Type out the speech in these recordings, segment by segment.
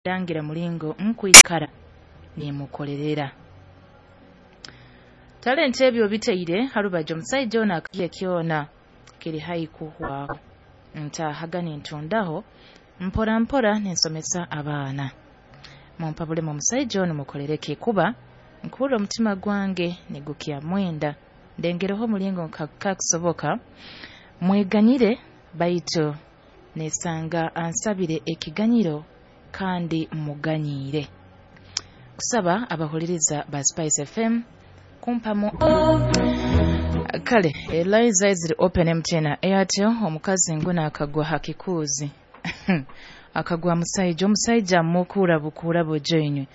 Ndangira mulingo nkwikara nimukolerera talenti ebyo bitaire harubaju. Omusaija ono akaye kyona kiri haihi kuhwaho, ntahaga nintundaho mpora mpora ninsomesa abaana. Mumpabulemu, omusaija ono mukolereki? Kuba nkuhurra omutima gwange nigukyamwenda. Ndengereho omulingo kakusoboka mweganyire, baitu nesanga ansabire ekiganyiro kandi muganyiire. Kusaba abahuliriza ba Spice FM kumpamu. Kale Eliza ziri open, MTN, Airtel. Omukazi nguno akagwa hakikuuzi, akagwa musaija. Omusaija amukura bukura bujoinywe.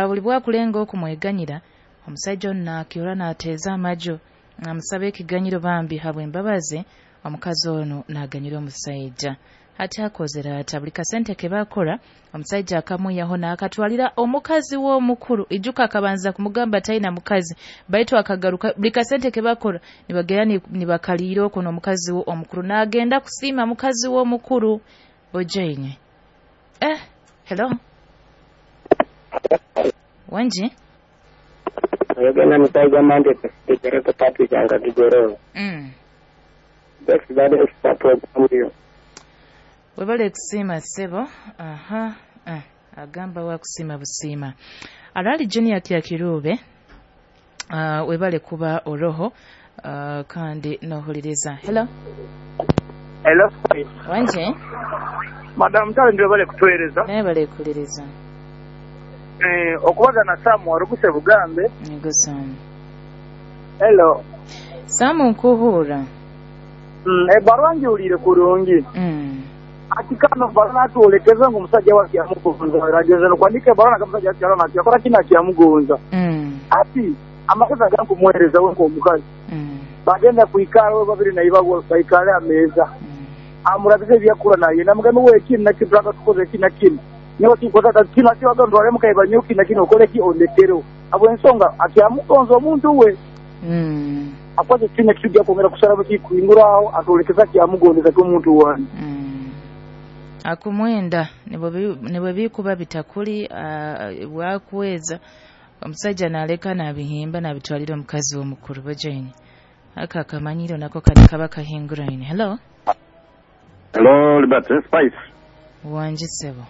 Buli bwakulenga okumweganyira, omusaija ono nakyora nateeza amajo, amusaba ekiganyiro. Bambi habw'embabazi omukazi ono naganyira omusaija. Hati akozere ata? Buli kasente ke bakora, omusaija akamwihaho n'akatwalira omukazi w'omukuru. Ijuka akabanza kumugamba talina mukazi, baitu akagaruka. Buli kasente ke bakora nibagenda nibakaliira okwo n'omukazi we omukuru. N'agenda kusiima mukazi we omukuru. Bojainye. Hello, wangi? Oyogenda musaiga mande tegereko Patrick Kigororo. Best bade extra program yo. Webale kusiima ssebo. Aha, agamba wakusiima busiima. Arali Junior Kyakirube, webale kuba oroho kandi nohuliriza. Hello. Hello. Wanje. Madam Talent, webale kutuweereza. Naye bale kuliriza. Okubagana Samu Waruguse Bugambe. Ego Samu. Hello. Samu, nkuhuura. Ebbarwa ngiwuliire kurungi. Ati kano barua natwolekeza ngu omusajja we akyamugonza, ageze nokwandika ebbarua naga omusajja akyarora nakyakora kino akyamugonza. Ati amagezi agankumuweereza we nk'omukazi, bagenda kwikara we babiri naiba baikale ameeza, amurabize ebyakura naye namugambe we kinu nakinu turaka tukoze kinu na kinu nyowe kinkoza kinu akiwaga ntwale mukaiba nyowe kinu na kinu okole ki ondekereho habw'ensonga akyamugonza omuntu we. Akwate kinu ekijja kwongera kusara kikuhinguraho atwolekeza kyamugondeza ky'omuntu wange. Akumwenda nibwe bikuba bitakuli bwakuweza omusajja naleka nabihimba nabitwalira omukazi w'omukuru. Bojaini aka akamanyiro nako kali kaba kahinguraine. Hello. Hello, Liberty Spice. Wangi ssebo.